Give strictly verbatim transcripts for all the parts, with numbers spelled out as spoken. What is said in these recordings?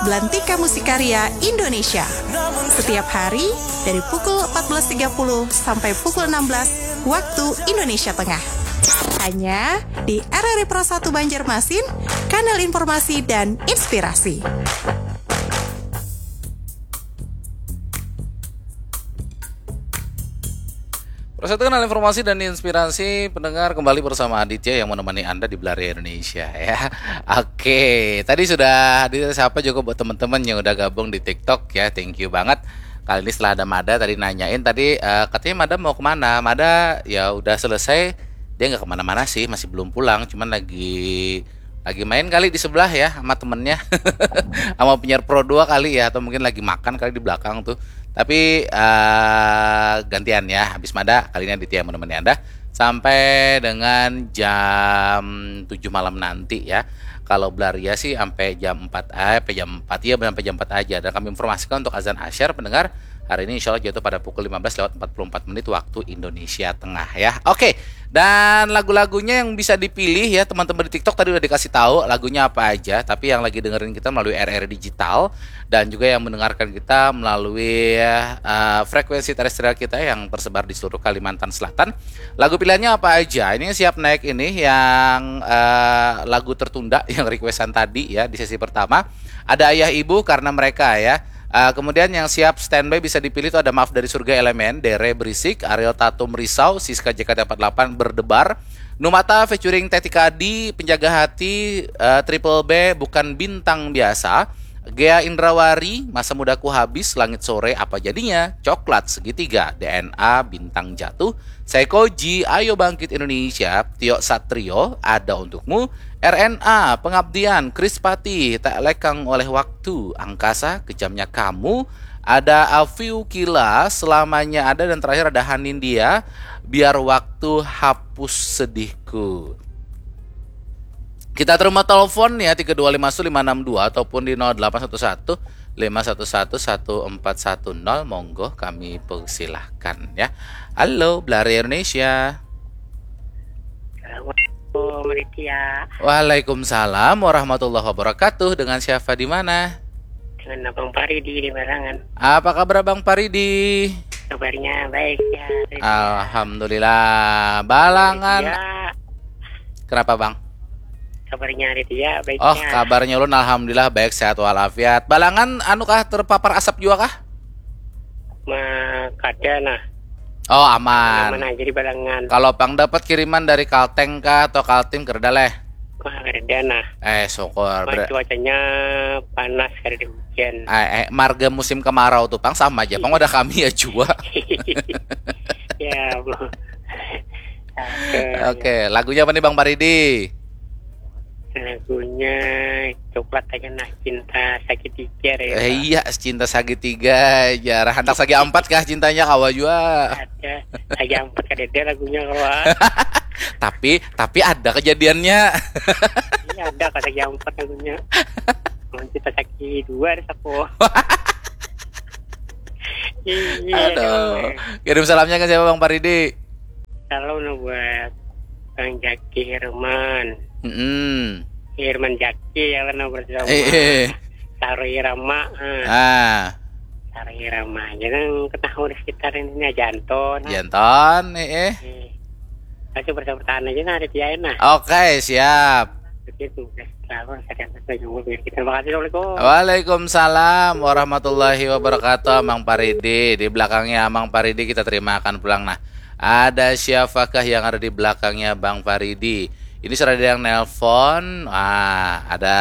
Lantika Musik Karya Indonesia. Setiap hari dari pukul empat belas tiga puluh sampai pukul enam belas waktu Indonesia Tengah. Hanya di R R I Pro satu Banjarmasin, kanal informasi dan inspirasi. Persatukan informasi dan inspirasi pendengar, kembali bersama Aditya yang menemani Anda di Belari Indonesia ya. Oke, tadi sudah hadir siapa juga buat teman-teman yang udah gabung di TikTok ya. Thank you banget. Kali ini setelah ada Mada tadi nanyain tadi uh, katanya Mada mau kemana? Mada ya udah selesai, dia nggak kemana-mana sih, masih belum pulang, cuman lagi lagi main kali di sebelah ya sama temennya sama penyiar Pro dua kali ya, atau mungkin lagi makan kali di belakang tuh. Tapi uh, gantian ya, habis Mada kali ini Aditya yang menemani Anda sampai dengan jam tujuh malam nanti ya. Kalau Belaria sih sampai jam empat, eh, sampai jam empat ya, sampai jam empat aja. Dan kami informasikan untuk azan asyar pendengar hari ini insya Allah jatuh pada pukul lima belas lewat empat puluh empat menit waktu Indonesia Tengah ya. Oke, dan lagu-lagunya yang bisa dipilih ya teman-teman di TikTok tadi udah dikasih tahu lagunya apa aja, tapi yang lagi dengerin kita melalui R R I Digital dan juga yang mendengarkan kita melalui uh, frekuensi terestrial kita yang tersebar di seluruh Kalimantan Selatan. Lagu pilihannya apa aja? Ini siap naik ini yang uh, lagu tertunda yang requestan tadi ya di sesi pertama. Ada Ayah Ibu karena mereka ya. Uh, kemudian yang siap standby bisa dipilih itu ada Maaf dari Surga Elemen, Dere Berisik, Ariel Tatum Risau, Siska J K T empat delapan Berdebar, Numata featuring Tetika D, Penjaga Hati, uh, Triple B, Bukan Bintang Biasa, Gea Indrawari, Masa Mudaku Habis, Langit Sore, Apa Jadinya, Coklat Segitiga, D N A, Bintang Jatuh, Seikoji, Ayo Bangkit Indonesia, Tio Satrio, Ada Untukmu, R N A, Pengabdian, Krispati, Tak Lekang Oleh Waktu, Angkasa, Kejamnya Kamu, ada Afiu Kila, Selamanya Ada, dan terakhir ada Hanindia, Biar Waktu Hapus Sedihku. Kita terima telepon ya tiga dua lima satu lima enam dua ataupun di nol delapan satu satu lima satu satu satu empat satu nol, monggo kami persilahkan ya. Halo Belari Indonesia. Assalamualaikum Aditya. Waalaikumsalam warahmatullahi wabarakatuh. Dengan siapa di mana? Dengan Abang Paridi di Barangan. Apa kabar Abang Paridi? Kabarnya baik ya. Alhamdulillah. Balangan. Ya. Kenapa Bang? Kabarnya Aditya baik. Oh, kabarnya ulun alhamdulillah baik, sehat walafiat. Balangan anu kah, terpapar asap juga kah? Ma, kada nah. Oh, aman. Aman aja di Balangan. Kalau pang dapat kiriman dari Kalteng kah atau Kaltim, kereda leh? Wah, kereda nah. Eh, syukur. Ber- cuacanya panas, kada ada hujan. Eh, eh, marga musim kemarau tuh pang sama aja. Pang ada kami ya juga. Ya, Oke, okay. Lagunya apa nih Bang Paridi? Lagunya coklat aja nah, Cinta Segitiga ya. Eh, iya, Cinta Segitiga aja. Handak sagi ampat kah cintanya, kawa jua? Ada. Sagi ampat kadada lagunya, kawa. Tapi tapi ada kejadiannya. Iya, ada kah sagi ampat lagunya. Mau Cinta Sagi dua ada saku. Iya. Aduh. Kirim salamnya ke siapa Bang Paridi? Salam buat Bang Jaki Herman. Mm-mm. Herman Jaki ya lah nomor Eh, eh. Saru Irama. Ah. Saru Irama. Jangan ketahui di sekitar ini aja Anton. Janton, eh, eh. Eh. Kasih bertahan aja nah ada dia nah. Oke, siap. Begitu. Terima kasih. Assalamualaikum. Waalaikumsalam warahmatullahi wabarakatuh, Amang Paridi. Di belakangnya Amang Paridi kita terimakan pulang. Nah, ada siapakah yang ada di belakangnya Bang Paridi? Ini sudah ada yang nelpon. Ah, ada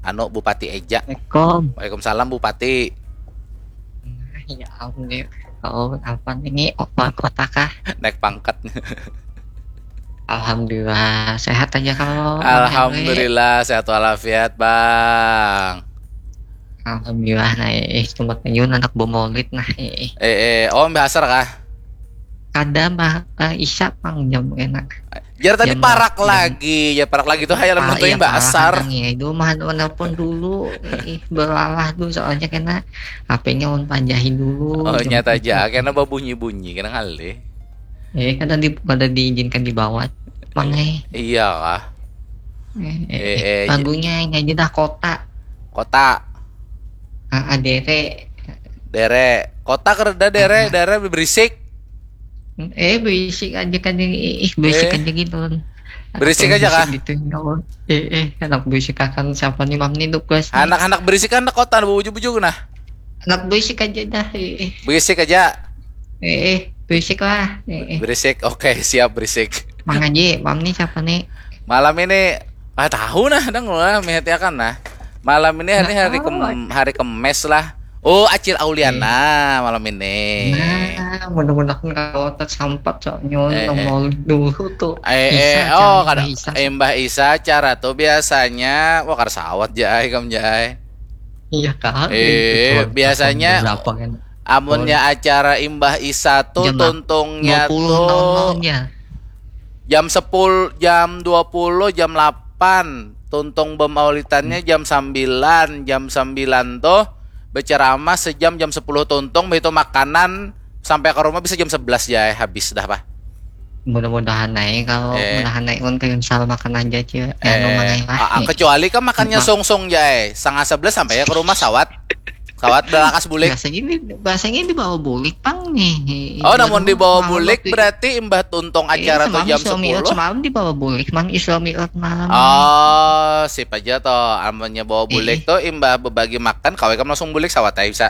anu Bupati Eja. Assalamualaikum. Waalaikumsalam Bupati. Nah, ya ampun ya. Oh, apa ini? Opa kota kah? Naik pangkat. Alhamdulillah, sehat aja kalau. Alhamdulillah sehat walafiat, Bang. Alhamdulillah, nah eh tempat nyun anak bomolid nah eh. Eh, eh, oh, Mbak Asar kah? Kada mah uh, Isya pang jam enak. Jar tadi Jam- parak jam- lagi, ya parak lagi tuh hayal Ah, menentuin iya, Mbak parah Asar. Nang, ya, itu mah nelpon dulu. Eh, beralah dulu soalnya kena H P-nya on panjahin dulu. Oh, Jam- nyata aja, karena babunyi-bunyi, kena ngalih. Eh, kada di kada diizinkan dibawa. Mangai. Iya kah? Eh, eh, Eh, eh, eh, lagunya ini aja dah kota. Kota. Ah, Dere. Dere. Kota kereda Dere, Dere berisik. Eh, berisik aja kan ini. Ih, berisik eh. aja gitu. Berisik aja kah? Gitu, eh, eh, anak berisik akan siapa nih, Mam, nih, tugas. Anak-anak berisik kan kota bujuk-bujuk nah. Anak berisik aja dah. Eh. Berisik aja. Eh, eh, berisik lah. Eh, eh. Berisik, oke, siap berisik. Mang Haji, Mam, nih siapa nih? Malam ini, ah, tahu nah, dang lah, mehetiakan nah. Malam ini hari hari kem, hari kemes lah. Oh, Acil Auliana eh. malam ini. Nah, mudah-mudahan kalau tersampat soalnya eh, eh. Mau dulu tuh. Eh, eh. Oh, kada Mbah Isa, cara tuh biasanya wah kada sawat jai kam jai. Iya kan? Eh, biasanya amunnya acara Imbah Isa tuh jam tuntungnya tuh jam sepuluh, jam dua puluh, jam delapan. Tuntung bemaulitannya jam sembilan, jam sembilan tuh berceramah sejam, jam sepuluh tuntung, begitu makanan sampai ke rumah bisa jam sebelas ya habis dah, Pak. Mudah-mudahan naik kalau eh. Mudahan naik pun kayak misal makan aja aja. Eh. Ah, kecuali kan makannya sungsung jai, setengah sebelas sampai ya ke rumah sawat. Sawat belakas bulik. Biasanya ini biasanya dibawa bulik pang nih. Oh, namun dibawa bulik berarti imbah tuntung acara eh, tuh jam sepuluh. Semalam dibawa bulik mang Isra Mi'raj malam. Oh, sip aja toh. Amunnya bawa bulik eh. Tuh imbah berbagi makan, kawai kamu langsung bulik sawat aja bisa.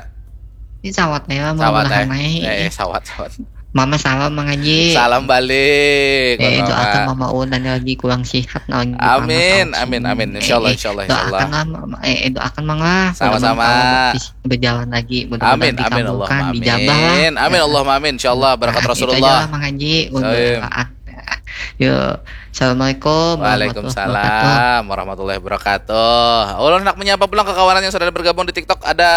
Ini sawat ya, mau sawat, eh. Eh, sawat, sawat. Mama salam Mang Haji. Salam balik. Eh, doakan Mama Un dan lagi kurang sehat nah. Amin, amin, amin. Insya Allah, eh, insya Allah, insya Allah. Doakan lah, eh, doakan Mang lah. Sama-sama. Berjalan lagi. Mudah-mudahan amin, amin, Allah, amin. Dijabah lah. Amin, amin, Allah, amin. Insya Allah, berkat nah, Rasulullah. Mang Haji, untuk doa. Yo, assalamualaikum. Waalaikumsalam warahmatullahi wabarakatuh. Ulun hendak menyapa pulang ke kawanan yang sudah bergabung di TikTok. Ada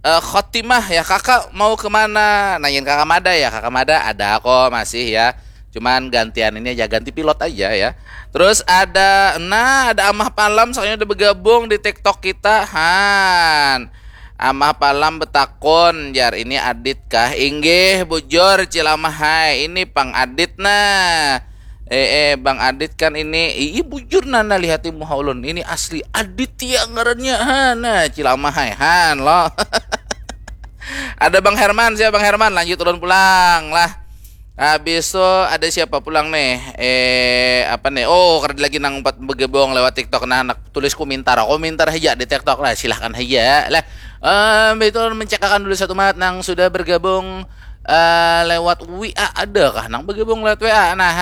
uh, Khotimah ya, kakak mau kemana? Nanyain kakak Mada ya, kakak Mada ada kok masih ya. Cuman gantian ini aja, ganti pilot aja ya. Terus ada, nah ada Amah Palam soalnya udah bergabung di TikTok kita. Han. Amah Palam betakon, jar ini Adit kah? Inggih, bujur Cilamah hai, ini pang Adit nah. Eh, eh, Bang Adit kan ini, iya bujur nana lihati muha ulun. Ini asli Aditya ngarannya. Ha, nah, Cilamah hai, han lo. Ada Bang Herman, siapa Bang Herman? Lanjut ulun pulang lah. Habis itu ada siapa pulang nih? Eh, apa nih? Oh, kada lagi nang empat bergabung lewat TikTok. Nah, anak tulis komentar. Komentar aja di TikTok lah, silahkan aja lah. Um, itu mencekakan dulu satu mat nang sudah bergabung uh, lewat W A ada kah nang bergabung lewat W A? Nah,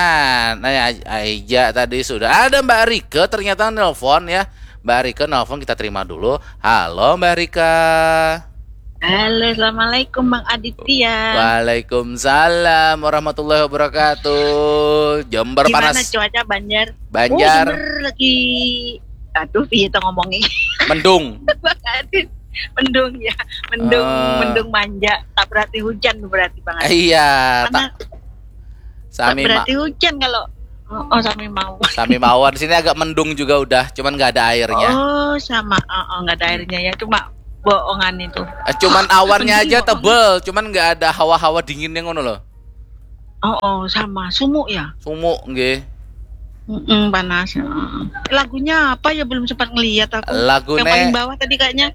nah aja tadi sudah ada Mbak Rike ternyata nelpon ya. Mbak Rike nelpon kita terima dulu. Halo Mbak Rika. Halo, assalamualaikum Bang Aditya. Waalaikumsalam warahmatullahi wabarakatuh. Jember Gimana panas. Cuaca Banjar? Banjar. Oh, lagi. Aduh, iya tuh ngomongnya. Mendung. Bang Adit. Mendung ya, mendung, uh, mendung manja. Tak berarti hujan berarti Bang Adit. Iya. Karena tak, sami tak berarti hujan kalau Oh, sami mawar. Sami mawar. Di sini agak mendung juga udah, cuman nggak ada airnya. Oh, sama. Oh, oh nggak ada airnya ya, cuma boongan itu. Eh, cuman awannya aja tebel, cuman nggak ada hawa-hawa dingin yang ngono loh. Oh, oh sama. Sumuk ya? Sumuk, nggih. Mm-mm, panas. Lagunya apa ya, belum sempat ngeliat aku. Lagunya yang paling bawah tadi kayaknya.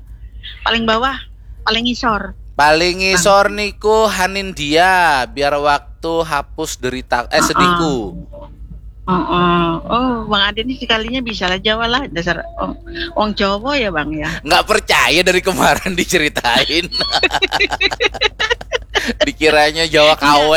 Paling bawah, paling ngisor. Paling ngisor niku Hanin dia, biar waktu hapus derita eh sedihku. Uh-uh. Oh, Bang Ade ini sekalinya bisa lah Jawa lah, dasar wong, wong Jawa ya Bang ya. Nggak percaya dari kemarin diceritain. Dikiranya Jawa K W.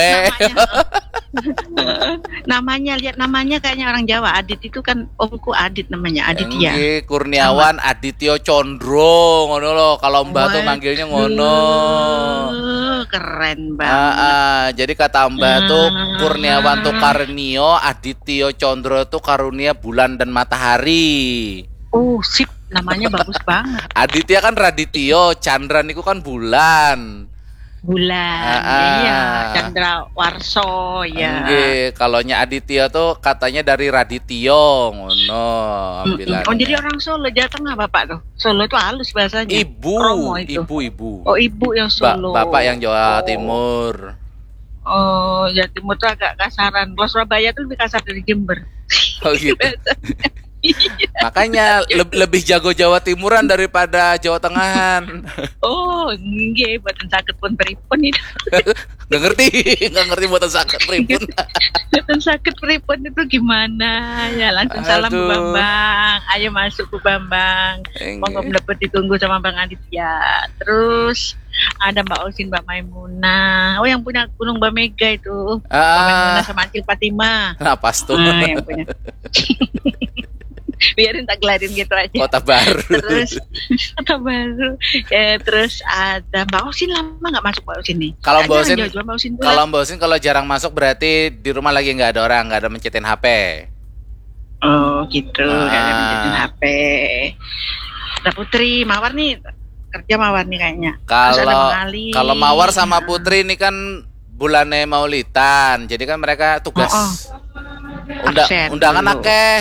Namanya, lihat namanya kayaknya orang Jawa. Adit itu kan omku Adit namanya, Aditya. Kurniawan Adityo Condro ngono loh. Kalau Mbah tuh manggilnya ngono. Keren banget. Jadi kata Mbah tuh Kurniawan tuh Karnio, Adityo Condro tuh karunia bulan dan matahari. Oh, sip, namanya bagus banget. Aditya kan Radityo, Chandra niku kan bulan. Bulan, ah, iya, Chandra Warso ya. Kalau nya Aditya tuh katanya dari Radityo ngono. Oh, jadi orang Solo, Jawa Tengah Bapak tuh. Solo tuh halus bahasanya. Ibu, ibu, ibu. Oh, ibu yang Solo. Bapak yang Jawa Timur. Oh, Jawa Timur tuh agak kasaran. Kalau Surabaya tuh lebih kasar dari Jember. Oh gitu. Makanya leb- lebih jago Jawa Timuran daripada Jawa Tengahan. Oh, nggih, buatan sakit pun pripun itu. Nggak ngerti, nggak ngerti buatan sakit pripun. Buatan sakit pripun itu gimana? Ya langsung salam Bu Aduh. Bambang. Ayo masuk Bu Bambang. Enggak. Monggo mendapat ditunggu sama Bang Aditya. Terus ada Mbak Osin, Mbak Maimunah. Oh, yang punya Gunung Mbak Mega itu. Mbak Ah, Maimunah sama Acil Fatimah. nah pas tuh. Ah, yang punya. Biarin tak gelarin gitu aja. Kota Baru. Terus Kota Baru. Ya, terus ada Mbak Osin, lama nggak masuk Mbak Osin nih. Kalau Mbak Jangan Osin, jauh-jauh Mbak Osin pula. Kalau Mbak Osin kalau jarang masuk berarti di rumah lagi nggak ada orang, nggak ada mencitin H P. Oh gitu, nggak ada Ah. mencitin H P. Ada Putri, Mawar nih kerja Mawar nih kayaknya. Terus ada Kalau Bang Ali. kalau Mawar sama Nah. Putri ini kan bulannya Maulidan, jadi kan mereka tugas Oh, oh. unda- Absen undangan dulu. Akeh.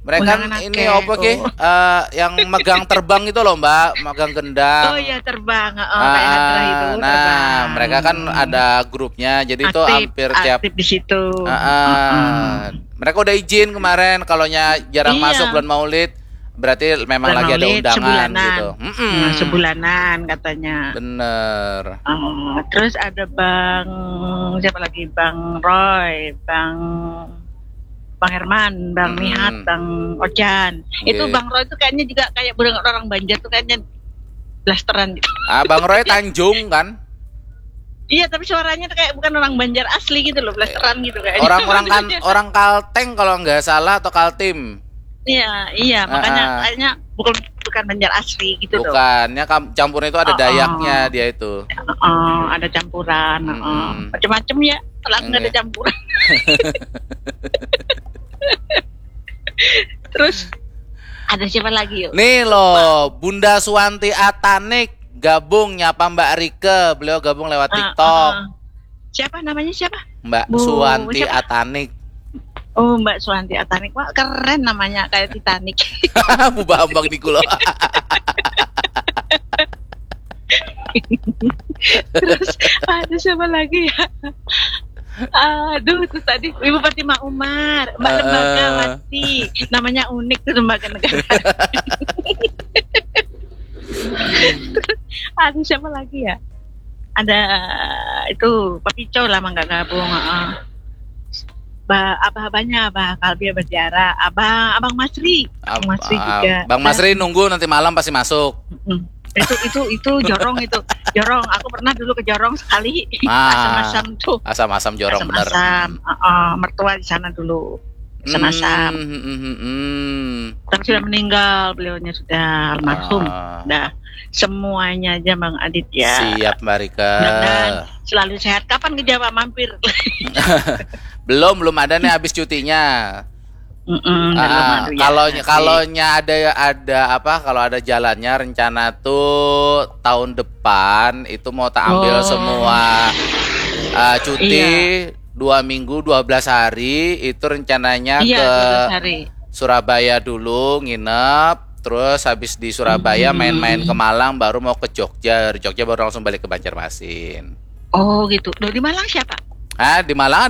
Mereka Undangan ini akeh, apa ke? Oh. Eh, yang megang terbang itu loh Mbak, megang gendang. Oh iya, terbang. Oh, kayak hadrah itu. Ah, nah, Terbang. Mereka kan ada grupnya, jadi itu Aktif, hampir tiap. Aktif di situ. Ah, ah. Mereka udah izin kemarin, kalau nya jarang Iya. Masuk bulan Maulid, berarti memang Bulan lagi ada Maulid, undangan sebulanan. Gitu. Mm-mm. Nah, sebulanan katanya. Bener. Oh, terus ada Bang, siapa lagi? Bang Roy, Bang Bang Herman, Bang Mm-mm. Nihat, Bang Ojan. Itu Iya. Bang Roy tuh kayaknya juga kayak orang, orang Banjar tuh kayaknya blasteran gitu. Ah, Bang Roy Tanjung kan? Iya, tapi suaranya tuh kayak bukan orang Banjar asli gitu loh, blasteran gitu kayaknya. Orang-orang kan orang Kalteng kalau nggak salah atau Kaltim. Iya, iya, makanya Ah, ah. Kayaknya bukan bukan Banjar asli gitu loh. Bukannya kam- campurnya itu ada Oh, Dayaknya oh. Dia itu. Oh, ada campuran, oh. Mm-mm. Macam-macam ya, kalau nggak ada Iya. Campuran. Terus ada siapa lagi yuk? Nih loh, Bunda Suwanti Atanik gabung nyapa Mbak Rike. Beliau gabung lewat Ah, TikTok. ah. Siapa namanya, siapa? Mbak Bu, Suwanti siapa? Atanik. Oh, Mbak Suwanti Atanik. Wah, keren namanya, kayak Titanic. Bu Bambang niku loh. Terus ada siapa lagi ya? Aduh, itu tadi Ibu Fatimah Umar, Mbak Heeh. Lembagawati. Namanya unik tuh, Lembaga Negara. Terus ada siapa lagi ya? Ada itu Pak Pico, lama nggak gabung. Heeh. Ba, abah-abahnya, Abah Kalbi, Abah Tiara, Abah, Abang Masri. Abang Masri juga. Bang Masri nunggu, nanti malam pasti masuk. Mm-mm. Itu itu itu Jorong itu. Jorong, aku pernah dulu ke Jorong sekali. Ah, Asam-asam tuh. Asam-asam Jorong bener. Asam-asam. Heeh, mertua di sana dulu. Asam-asam. Hmm, hmm, hmm, hmm. Tapi sudah meninggal beliaunya, sudah almarhum. Ah. Dah, semuanya aja Bang Aditya. Siap, Mbak Rika. Mudah-mudahan selalu sehat. Kapan ke Jawa mampir? Belum, belum ada nih habis cutinya. Mm-mm, belum Ah, ada ya. kalau Nanti. Kalau nya ada ada apa? Kalau ada jalannya, rencana tuh tahun depan itu mau tak ambil Oh. semua uh, cuti Iya. dua minggu, dua belas hari, itu rencananya Iya, ke dua belas hari. Surabaya dulu nginep, terus habis di Surabaya Hmm. Main-main ke Malang, baru mau ke Jogja. Dari Jogja baru langsung balik ke Banjarmasin. Oh gitu. Loh, di Malang siapa? Ah, di Malang